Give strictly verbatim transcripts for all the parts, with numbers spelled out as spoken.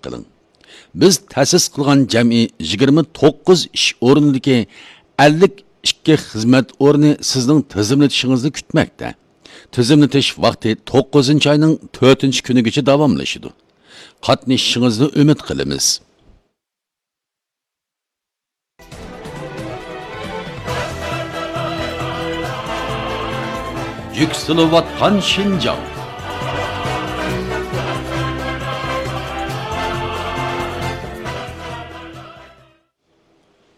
قىلىڭ. بىز تەسىس قىلغان جەمئىي يىگىرمە توققۇز ئىش ئورنىدىكى ئەللىك ئىككى خىزمەت ئورنى سىزنىڭ تىزىملىتىشىڭىزنى كۈتمەكتە. تىزىملىتىش ۋاقتى توققۇزىنچى ئاينىڭ تۆتىنچى كۈنىگىچە داۋاملىشىدۇ. قاتنىشىشىڭىزنى ئۈمىد قىلىمىز. يۈكسىلىۋاتقان شىنجاڭ.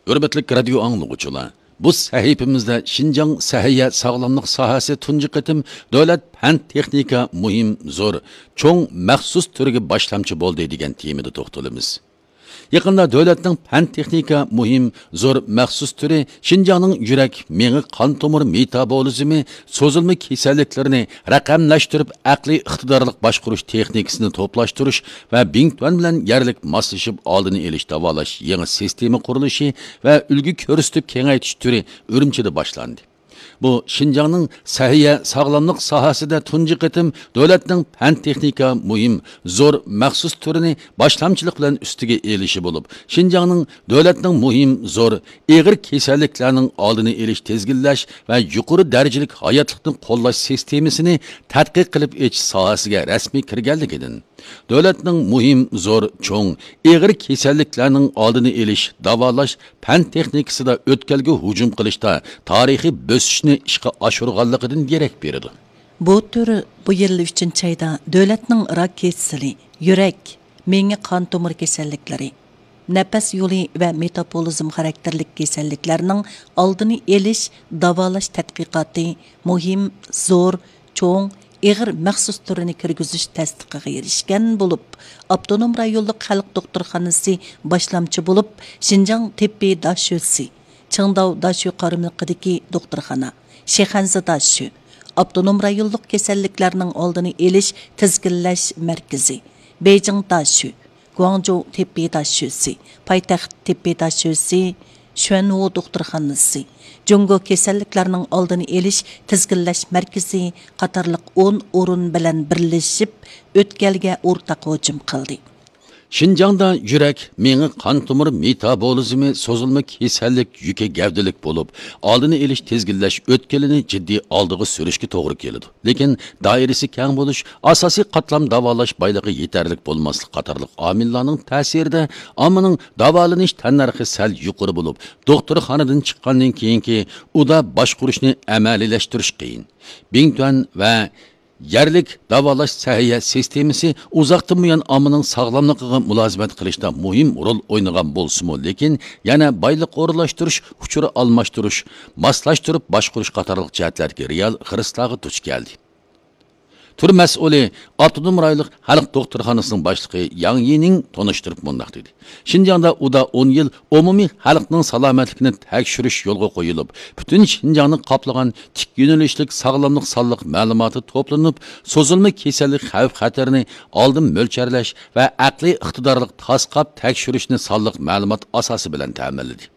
ھۆرمەتلىك رادىيو ئاڭلىغۇچىلار، بۇ سەھىپىمىزدە شىنجاڭ سەھىيە ساغلاملىق ساھەسى تۇنجى قېتىم دۆلەت پەن تېخنىكا مۇھىم، زور، چوڭ مەخسۇس تۈرىگە باشلامچى بولدى دېگەن تېمىدا توختىلىمىز. يېقىندا دۆلەتنىڭ پەن تېخنىكا مۇھىم، زور مەخسۇس تۈرى شىنجاڭنىڭ يۈرەك، مېڭە، قان تومۇر مېتابولىزمى، سوزۇلما كېسەللىكلىرىنى رەقەملەشتۈرۈپ، ئەقلىي ئىقتىدارلىق باشقۇرۇش تېخنىكىسىنى توپلاشتۇرۇش ۋە بىڭتۈەن بىلەن يەرلىك ماسلىشىپ ئالدىنى ئېلىش داۋالاش يېڭى سىستېما قۇرۇلۇشى ۋە ئۈلگە كۆرسىتىپ كېڭەيتىش تۈرى ئۈرۈمچىدە باشلاندى. بۇ شىنجاڭنىڭ سەھىيە ساغلاملىق ساھەسىدە تۇنجى قېتىم دۆلەتنىڭ پەن تېخنىكا مۇھىم، زور مەخسۇس تۈرىنى باشلامچىلىق بىلەن ئۈستىگە ئېلىشى بولۇپ، شىنجاڭنىڭ دۆلەتنىڭ مۇھىم، زور، ئېغىر كېسەللىكلەرنىڭ ئالدىنى ئېلىش، تىزگىنلەش ۋە يۇقىرى دەرىجىلىك ھاياتلىقنى قوللاش سىستېمىسىنى تەتقىق قىلىپ ئېچىش ساھەسىگە رەسمىي كىرگەنلىكىدىن، دۆلەتنىڭ مۇھىم، زور، چوڭ، ئېغىر كېسەللىكلەرنىڭ ئالدىنى ئېلىش، داۋالاش، پەن تېخنىكىسىدا ئۆتكەلگە ھۇجۇم قىلىشتا تارىخىي بۆسۈشنى ئىشقا ئاشۇرغانلىقىدىن دېرەك بېرىدۇ. بۇ تۈر بۇ يىل ئۈچىنچى ئايدا دۆلەتنىڭ راك كېسىلى، يۈرەك، مېڭە قان تومۇر كېسەللىكلىرى، نەپەس يولى ۋە مېتابولىزم خاراكتېرلىك كېسەللىكلەرنىڭ ئالدىنى ئېلىش، داۋالاش تەتقىقاتى مۇھىم، زور، چوڭ، ئېغىر مەخسۇس تۈرىنى كىرگۈزۈش تەستىقىغا ئېرىشكەن بولۇپ، ئاپتونوم رايونلۇق خەلق دوختۇرخانىسى باشلامچى بولۇپ، شىنجاڭ تېببىي داشۆسى، چىڭداۋ داشۆ قارمىقىدىكى دوختۇرخانا، شىخەنزە داشۆ، ئاپتونوم رايونلۇق كېسەللىكلەرنىڭ ئالدىنى ئېلىش تىزگىنلەش مەركىزى، بېيجىڭ داشۆ، گۇاڭجۇ تېببىي داشۆسى، پايتەخت تېببىي داشۆسى، شۈەنۋۇ دوختۇرخانىسى، جۇڭگو كېسەللىكلەرنىڭ ئالدىنى ئېلىش تىزگىنلەش مەركىزى قاتارلىق ئون ئورۇن بىلەن بىرلىشىپ، ئۆتكەلگە ئورتاق ھۇجۇم قىلدى. شىنجاڭدا يۈرەك، مېڭە، قان تومۇر مېتابولىزمى، سوزۇلما كېسەللىك يۈكى گەۋدىلىك بولۇپ، ئالدىنى ئېلىش، تىزگىنلەش ئۆتكىلىنى جىددىي ئالدىغا سۈرۈشكە توغرا كېلىدۇ. لېكىن دائىرىسى كەڭ بولۇش، ئاساسىي قاتلام داۋالاش بايلىقى يېتەرلىك بولماسلىق قاتارلىق ئامىللارنىڭ تەسىرىدە ئاممىنىڭ داۋالىنىش تەننەرخى سەل يۇقىرى بولۇپ، دوختۇرخانىدىن چىققاندىن كېيىنكى ئۇدا باشقۇرۇشنى ئەمەلىيلەشتۈرۈش قىيىن. بىڭتۈەن ۋە يەرلىك داۋالاش سەھىيە سىستېمىسى ئۇزاقتىن بۇيان ئاممىنىڭ ساغلاملىقىغا مۇلازىمەت قىلىشتا مۇھىم رول ئوينىغان بولسىمۇ، لېكىن يەنە بايلىق ئورۇنلاشتۇرۇش، ئۇچۇر ئالماشتۇرۇش، ماسلاشتۇرۇپ باشقۇرۇش قاتارلىق جەھەتلەردىكى رېئال خىرىسلارغا دۇچ كەلدى. تۈر مەسئۇلى، ئاپتونوم رايونلۇق خەلق دوختۇرخانىسىنىڭ باشلىقى ياڭ يىنىڭ تونۇشتۇرۇپ مۇنداق دېدى: شىنجاڭدا ئۇدا ئون يىل ئومۇمىي خەلقنىڭ سالامەتلىكىنى تەكشۈرۈش يولغا قويۇلۇپ، پۈتۈن شىنجاڭنى قاپلىغان تىك يۆنىلىشلىك ساغلاملىق سانلىق مەلۇماتى توپلىنىپ، سوزۇلما كېسەللىك خەۋپ خەتىرىنى ئالدىن مۆلچەرلەش ۋە ئەقلىي ئىقتىدارلىق تاسقاپ تەكشۈرۈشنى سانلىق مەلۇمات ئاساسى بىلەن تەمىنلىدى.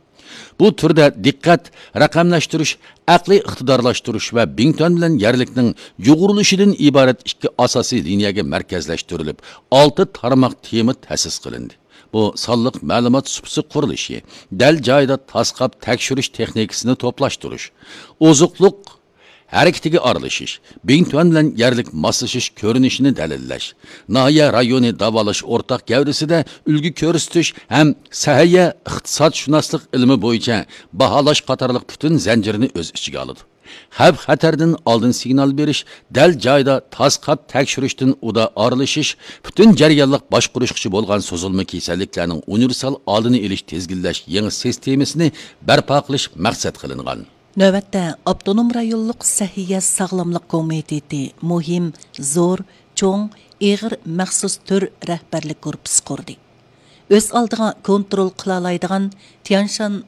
بۇ تۈردە دىققەت رەقەملەشتۈرۈش، ئەقلىي ئىقتىدارلاشتۇرۇش ۋە بىڭتۈەن بىلەن يەرلىكنىڭ يۇغۇرۇلۇشىدىن ئىبارەت ئىككى ئاساسىي لىنىيەگە مەركەزلەشتۈرۈلۈپ، ئالتە تارماق تېما تەسىس قىلىندى. بۇ سانلىق مەلۇمات سۇپىسى قۇرۇلۇشى، دەل جايىدا تاسقاپ تەكشۈرۈش تېخنىكىسىنى توپلاشتۇرۇش، ئوزۇقلۇق ھەرىكىتىگە ئارىلىشىش، بىڭتۈەن بىلەن يەرلىك ماسلىشىش كۆرۈنۈشىنى دەلىللەش، ناھىيە رايونى داۋالاش ئورتاق گەۋدىسىدە ئۈلگە كۆرسىتىش ھەم سەھىيە ئىقتىسادشۇناسلىق ئىلمى بويىچە باھالاش قاتارلىق پۈتۈن زەنجىرنى ئۆز ئىچىگە ئالىدۇ. خەۋپ خەتەردىن ئالدىن سىگنال بېرىش، دەل جايىدا تاسقاپ تەكشۈرۈشتىن ئۇدا ئارىلىشىش، پۈتۈن جەريانلىق باشقۇرۇشقىچە بولغان سوزۇلما كېسەللىكلەرنىڭ ئۇنىۋېرسال ئالدىنى ئېلىش تىزگىنلەش يېڭى سىستېمىسىنى بەرپا قىلىش مەقسەت قىلىنغان. نۆۋەتتە ئاپتونوم رايونلۇق سەھىيە ساغلاملىق كومىتېتى مۇھىم، زور، چوڭ، ئېغىر مەخسۇس تۈر رەھبەرلىك گۇرۇپپىسى قۇردى. ئۆز ئالدىغا كونترول قىلالايدىغان تيانشان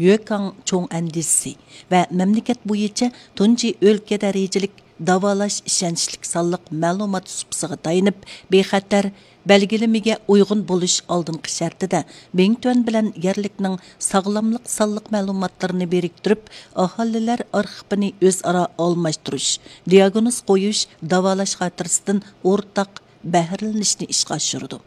يۆكاڭ چوڭ ئەندىزىسى ۋە مەملىكەت بويىچە تۇنجى ئۆلكە دەرىجىلىك داۋالاش ئىشەنچلىك سانلىق مەلۇمات سۇپىسىغا تايىنىپ، بىخەتەر بەلگىلىمىگە ئۇيغۇن بولۇش ئالدىنقى شەرتىدە، بىڭتۈەن بىلەن يەرلىكنىڭ ساغلاملىق سانلىق مەلۇماتلىرىنى بىرىكتۈرۈپ، ئاھالىلەر ئارخىپىنى ئۆزئارا ئالماشتۇرۇش، دىياگنوز قويۇش، داۋالاش خاتىرىسىدىن ئورتاق بەھرىلىنىشنى ئىشقا ئاشۇرىدۇ.